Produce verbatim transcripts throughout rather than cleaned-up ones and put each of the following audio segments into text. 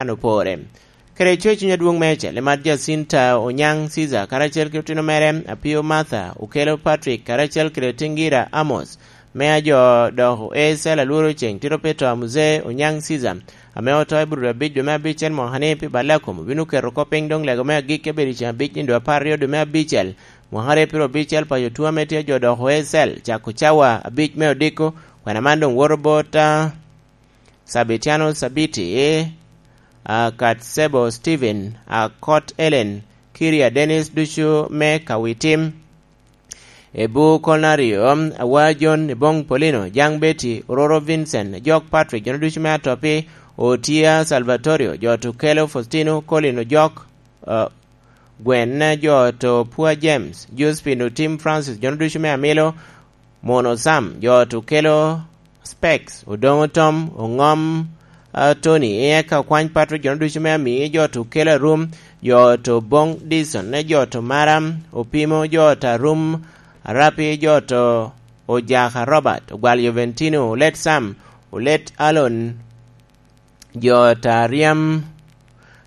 an opore. Kede coc cuny adwoŋ meicel, i mat Jacinta Onyaŋ Caesar, karacel kede otino mere, Apio Martha, Okelo Patrick, karacel kede Tingira Amos, me ajo dok oe cel alworo ceŋ, tito pito a Muzee Onyaŋ Caesar, ame oto i Aburudo abic dwe me abicel mwaka ni pi balla kom, obino keto kop piny doŋ lego me agik ebedo i ceŋ abic nino apar aryo dwe me abicel, mwaka aryo piro abicel paco tuo ame tye ajo dok oe cel, cako cawa abic me odiko, kwena man doŋ woto bot, a, Sabitiano Sabiti, a, Katsebo Steven, a, Kot Ellen, Kiria Dennis ducu me Kawitim, Ebu Kolnario, Awa John Ebong Polino, Jaŋ Betty, Ororo Vincent, Jok Patrick, jo ducu me Atopi, Otia Salvatorio, jo Tukelo Faustino, Colin Ojok, a, Gwen, jo to Pua James, Josephine Otim Francis, jo ducu me Amilo, Mono Sam, jo to kelo Specs, Odoŋo Tom, Oŋom, a, Tony, eka Okwany Patrick, jo ducu me Ami, jo to kelo Arum, jo to Boŋ Dison, ne jo to Maram, Opimo, jo to Arum, Arapi, jo to Ojaka Robert, Ogwal Joventino, Olet Sam, Olet Alon, jo ta Riam,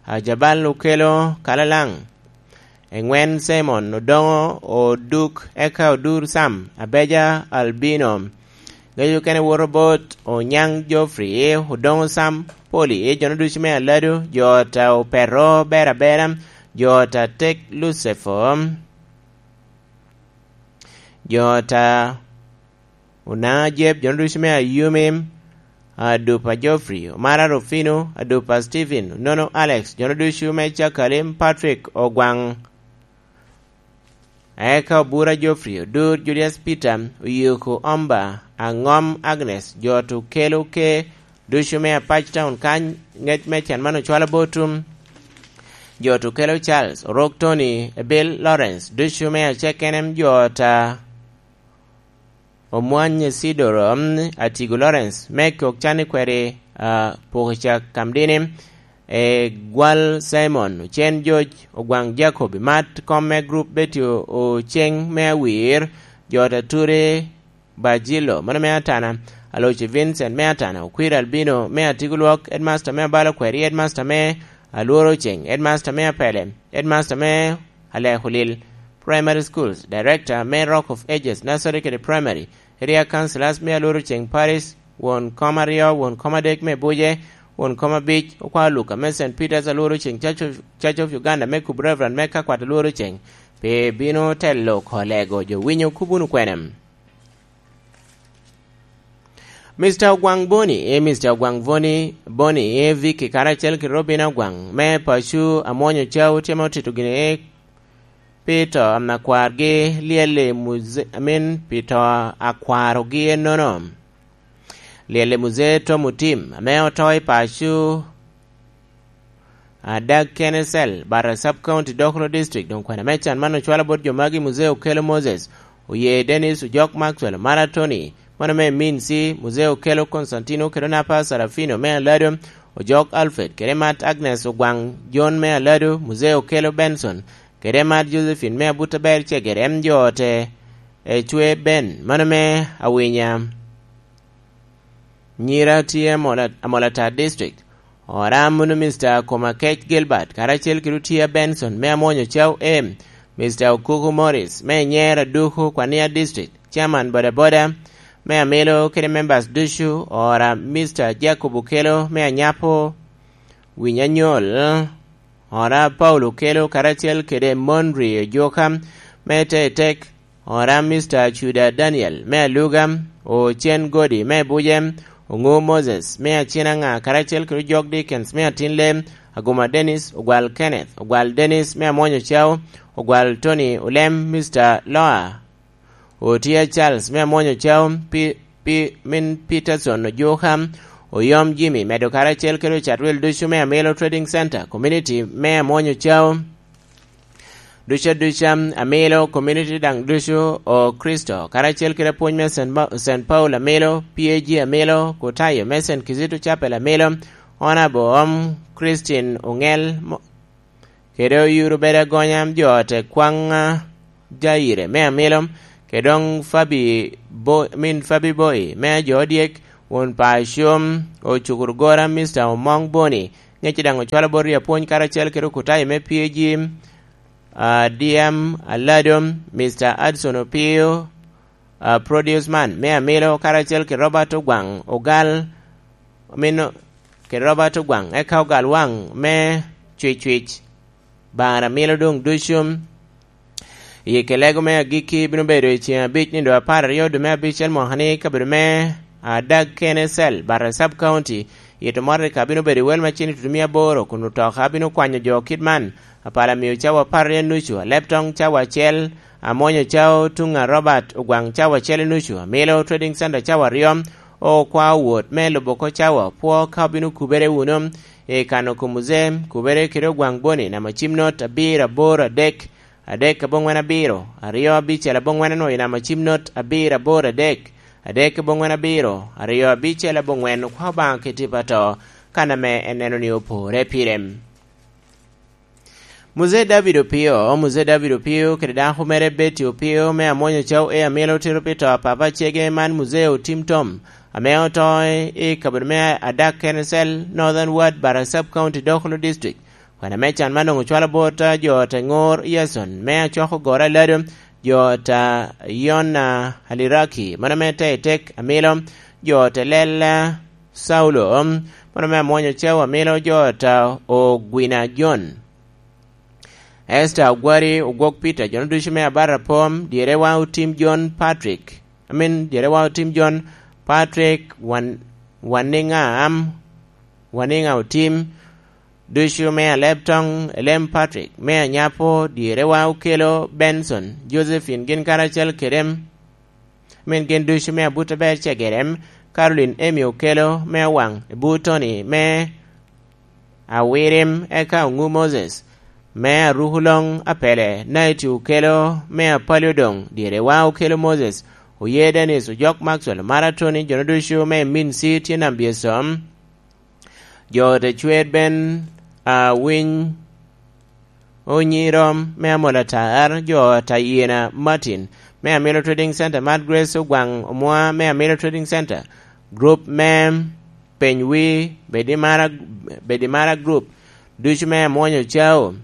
Ajabal Okelo Kalalaŋ, Eŋwen Simon, Odoŋo Oduk, eka Odur Sam, Abeja Albino, Gejo kene woto bot Onyaŋ Geoffrey, Odoŋo Sam Poli, jono ducu me Alado, jo ta Opero Berabera, jo ta Tek Lucifo, jo ta Onaŋa Jeb, jono ducu me Ayumi, Adupa Geoffrey, Omara Rufino, Adupa Stephen, Onono Alex, jono ducu me Cakalim, Patrick Ogwaŋ, eka Obura Geoffrey, Odur Julius Peter, Oyiko Omba, Aŋom Agnes, jo to kelo ke ducu me Apac Town kany, ŋec me can man ocwalo bot tum, jo to kelo Charles, Orok Tony, Ebil Lawrence, ducu me Acekenem, jo ta Omwany Isidoro, mm, Atigo Lawrence, me kok can i kweri, a, Pokicak Kamdini, e Gwal Simon, Ocen George, Ogwaŋ Jacob, i mat kom me grup Betty O-, Oceŋ me Awir, jo ta Ture Bajilo, mano me Atana, Aloci Vincent me Atana, Okwir Albino me Atigo Lwok, Headmaster me Abalo Kweri, Headmaster me Alworo Oceŋ, Headmaster me Apele, Headmaster me Alekulil Primary Schools, Director me Rock of Ages Nursery kede Primary, Area Councillors me Alworo Oceŋ Parish, won kom aryo, won kom adek me Buje, won kom abic, Okwao Luka me Saint Peter's Alworo Oceŋ Church of, Church of Uganda me Kubu Reverend me Kakwat Alworo Oceŋ, pe bino telo kolego jo winyo kop wunu kwene. Mister Ogwaŋ Boni, e Mister Ogwaŋ Boni, Boni, e Vicky karacel kede Robina Ogwaŋ, me paco Amwonyo Cao tye ma otito gini pi to a akwargi lyel i muze-, I mean, pi to a akwarogi ennono. Lyel i muzee Tom Otim, ame oto i paco, Adag Kenesel, Barra Sub County, Dokolo District, doŋ kwena me can man ocwalo bot jo magi, Muzee Okelo Moses, Oye Dennis, Ojok Maxwell, Mara Tony, mano me Minsi, Muzee Okelo Constantino, kede Onapa Sarafino me Alado, Ojok Alfred, kede Mat Agnes Ogwaŋ John me Alado, Muzee Okelo Benson, kede Mat Josephine me Abuta Ber Cegere, em jo ote, Ecwe Ben, mano me Awinya. Nyira tye Amola-, Amolatar District. Ora munu Mister Komakec Gilbert, karacel kede Otia Benson me Amwonyo Cao A, Mister Okuku Morris me Nyer Aduku, Kwania District, Chairman Bodaboda me Amilo kede members ducu, ora Mister Jacob Okelo me Anyapo, Winyanyol, ora Paulo Okelo, karacel kede Monri Ojoka me Tetek, Ora Mister Acuda Daniel me Aluga, Ocen Godi me Buje, Oŋo Moses me Acinaŋa, karacel kede Ojok Dickens me Atinle, Aguma Dennis, Ogwal Kenneth, Ogwal Dennis me Amwonyo Cao, Ogwal Tony Olem, Mister Loa, Otia Charles me Amwonyo Cao, pi, pi, min Peterson Ojuka, Oyom Jimmy, medo karacel kede Ocatwil ducu me Amilo Trading Center, Community me Amwonyo Cao. Ducu aduca, Amilo Community daŋ ducu, o Kricito, karacel kede apwony me Saint Ma-, Saint Paul Amilo, P A G Amilo, Kutayo me Saint Kizito Chapel Amilo, Honorable Om Christine Oŋel, mo-, kede oyuro bedo agonya jo te kwaŋ, a, Jaire me Amilo, kede doŋ Fabi Bo-, min Fabi Boy me ajo odyek, won pa Acom, Ocukuru Gora, Mister Omoŋ Boni, Ŋec daŋ ocwalo bot ri apwony karacel kede okutayi me P A G, ah, D M Alado, Mister Adson Opio, ah, Produce Man me Amilo, karacel kede Robert Ogwaŋ Ogal, omino kede Robert Ogwaŋ, eka Ogal Waŋ me Cwicwic, Bar Amilo doŋ ducu. I kelego me agikki bino bedo i ceŋ abic nino apar aryo dwe me abicel mwaka ni, kabedo me Adag Kene Cell, Barre Sub County, i Tomotika bino bedo i wel macin i tutumia aboro, kun otoka bino kwanyo jo kit man: Apala Miyo cawa apar aryo nucu, Aleptoŋ cawa acel, Amwonyo Cao tuŋ a Robert Ogwaŋ cawa acel nucu, Amilo Trading Center cawa aryo, Okwa Owot me lubo oko cawa opwo ka obino kubere wunu i kano kom Muzee, kubere kede Ogwaŋ Boni namba cim not abiro aboro adek, adek aboŋwen abiro, aryo abicel aboŋwen onwoŋo i namba cim not abiro aboro adek, adek aboŋwen abiro, aryo abicel aboŋwen. Okwa Obaŋa keti pato, kan ame en neno ni opore pire. Muzee David Opio, Muzee David Opio kede dako mere Betty Opio me Amwonyo Cao e Amilo otito pi to a papa cege man, Muzee Otim Tom, ame oto i kabedo me Adak Kene Cell, Northern Ward, Barre Sub County, Dokolo District. Kwena me can man doŋ ocwalo bot a jo te ŋor Yason me Acwoko Goro Alado, jo ta Yona Aliraki, mano me Teitek Amilo, jo te Lela Saulo, mano me Amwonyo Cao Amilo, jo ta Ogwina John, Esther Ogwari, Ogwok Peter, jo ducu me Abarapom, dyerewa Otim John Patrick, I mean, dyerewa Otim John Patrick, Wan-, Waniŋa Am, Waniŋa Otim, ducu me Aleptoŋ, Elem Patrick me Anyapo, dyerewa Okelo Benson, Josephine gin karacel kede em, min gin ducu me Abuto Ber Cegerem, Caroline Emi Okelo me Owaŋ, Ebu Tony me Awirim, eka Oŋu Moses me Arukuloŋ Apele, Naiti Okelo me Apali Odoŋ, dyerewa Okelo Moses, Oye Dennis, Ojok Maxwell, Mara Tony, jo ducu me Minsi tye nambyesom. Jo te cwer ben, a, winy onyirom me Amol Atar, jo ta Yiena Martin me Amilo Trading Center, Mad Grace Ogwaŋ Omwa me Amilo Trading Center, group me Penywi, Bedimara, Bedimara Group, ducu me Amwonyo Cao.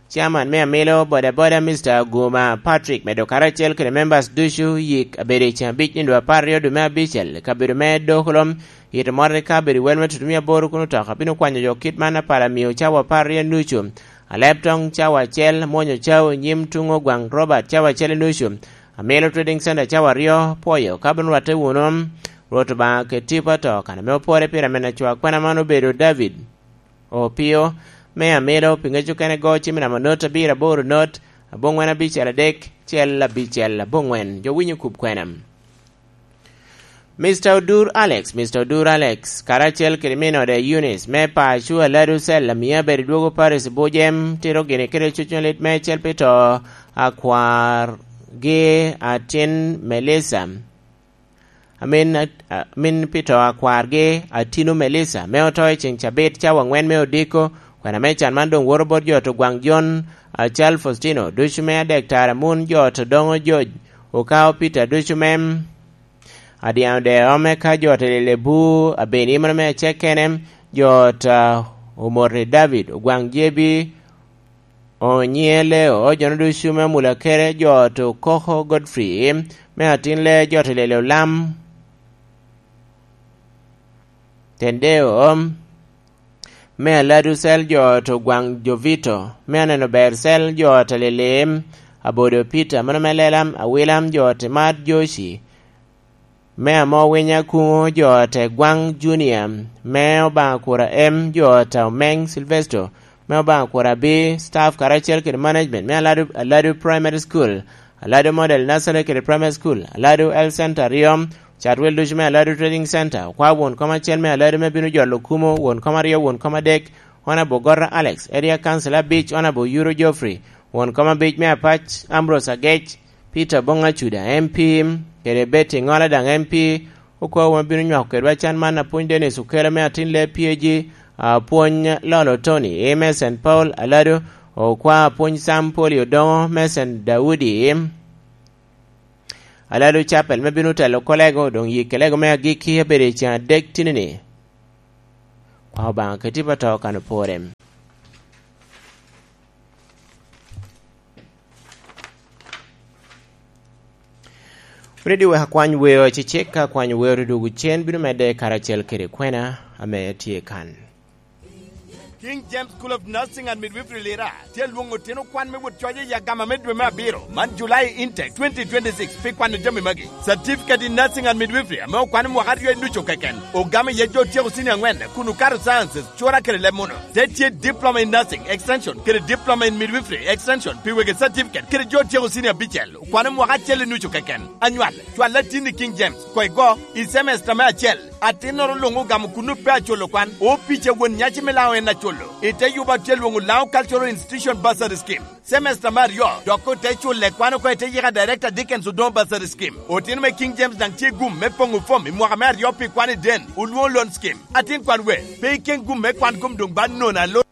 Chairman me Amilo Bodaboda, Mister Aguma Patrick, medo karacel kede members ducu, yik abedo i ceŋ abic nino apar aryo dwe me abicel, kabedo me Dokolom, ito moro i kabedo i wel me tutumia aboro kun otoka bino kwanyo jo kit man: Apala Miyo cawa apar aryo nucu, Aleptoŋ cawa acel, Mwonyo Cao, Nyim Tuŋo Gwaŋ Robert cawa acel nucu, Amilo Trading Center cawa aryo, pwoyo ka bino rwatte wunu. Rwot Obaŋa keti pato, kan ame opore pire, amen acwa kwena man obedo David Opio me Amilo, pi ŋec okene go cim i namba not abiro aboro not, aboŋwen abicel adek, cel abicel aboŋwen. Jo winyo kub kwena. Mister Odur Alex, Mister Odur Alex, karacel kede min ode Eunice, me Paco Alado Cell, amiya bedo dwogo Paris Bujem, tito gini kede cucnyo lit me cel pi to akwargi atin Melissa. Amin, amin pi to akwargi Atino Melissa, me oto i ceŋ cabit cawa aŋwen me odiko. Kwena me can man doŋ woto bot jo to Gwaŋ Jon, Acal Faustino, ducu me Adek Tara Mun, jo to Doŋo Joj, Okao Peter, ducu me Adiaŋ Deo, me ka jo to Lelebu, Abeni, mano me Acekene, jo to Omoti David, Ogwaŋ Jebi, Onyieleo, jo ducu me Mula Kere, jo to Koko Godfrey, me Atin Le, jo to Lele Olam, Tendeo, me Aladu Cell, jo to Gwaŋ Jovito, me Aneno Ber Cell, jo to Lele, Abodo Peter, mano me Lelam, Awilam, jo to Mad Joshi, me Amo Winya Kuŋo, jo te Gwaŋ Junior, me Obaŋa Kura M, jo te Omeŋ Silvesto, me Obaŋa Kura B, staff karacel kede management me Aladu, Aladu Primary School, Aladu Model Nursery kede Primary School, Aladu Health Center aryo, catwel ducu me Aladu Trading Center, okwa won kom acel me Aladu me bino jolo kumo, won kom aryo, won kom adek, Honorable Gorra Alex, Area Council abic, Honorable Yuro Geoffrey, won kom abic me Apac, Ambrose Agec, Peter Bong Acuda, M P, kede Betty Ŋola daŋ M P, okwawa ma bino nywako kedwa can man, apwony Dennis Okelo me Atin Le P A G, apwony Lolo Tony, e, me Saint Paul Alado, okwa apwony Sam Poli Odoŋo me Saint Daudi, Alado Chapel me bino telo kolego, doŋ yik kelego me agikki abedo i ceŋ adek tinini. Pao Obaŋa keti pa to kan opore. Wuridi wek akwany weo acecek, ka akwany weo ri dwogo cen bino medde karacel kede kwena ame tye kan. King James School of Nursing and Midwifery Lira tye alwoŋo otino kwan me wot coc i agama me dwe me abiro man, July intake twenty twenty-six, pi kwano jami magi. Certificate in Nursing and Midwifery ame okwano mwaka aryo i nucu keken, ogamo iye jo otyeko senior angwen kun okato sciences, cura kede leb muno. Te tye Diploma in Nursing Extension kede Diploma in Midwifery Extension pi wegi certificate kede jo otyeko senior abicel, okwano mwaka acel i nucu keken. Anywal, cwal atin i King James, koigo, i semester me acel. Atinnoro luŋ ogamo kun ope aculo kwan. Opic a won nyaci me Laŋo en aculo. I te yuba tye lwoŋo Laŋo Cultural Institution Bursary Scheme. Semester me aryo, dok ote culle kwan oko i te yika Director Dickens Odongo Bursary Scheme. Otino me King James daŋ tye gum me poŋo fom i mwaka me aryo pi kwan i den, olwoŋo loan scheme. Atin kwan we, pe iken gum me kwan gum doŋ ba nono alo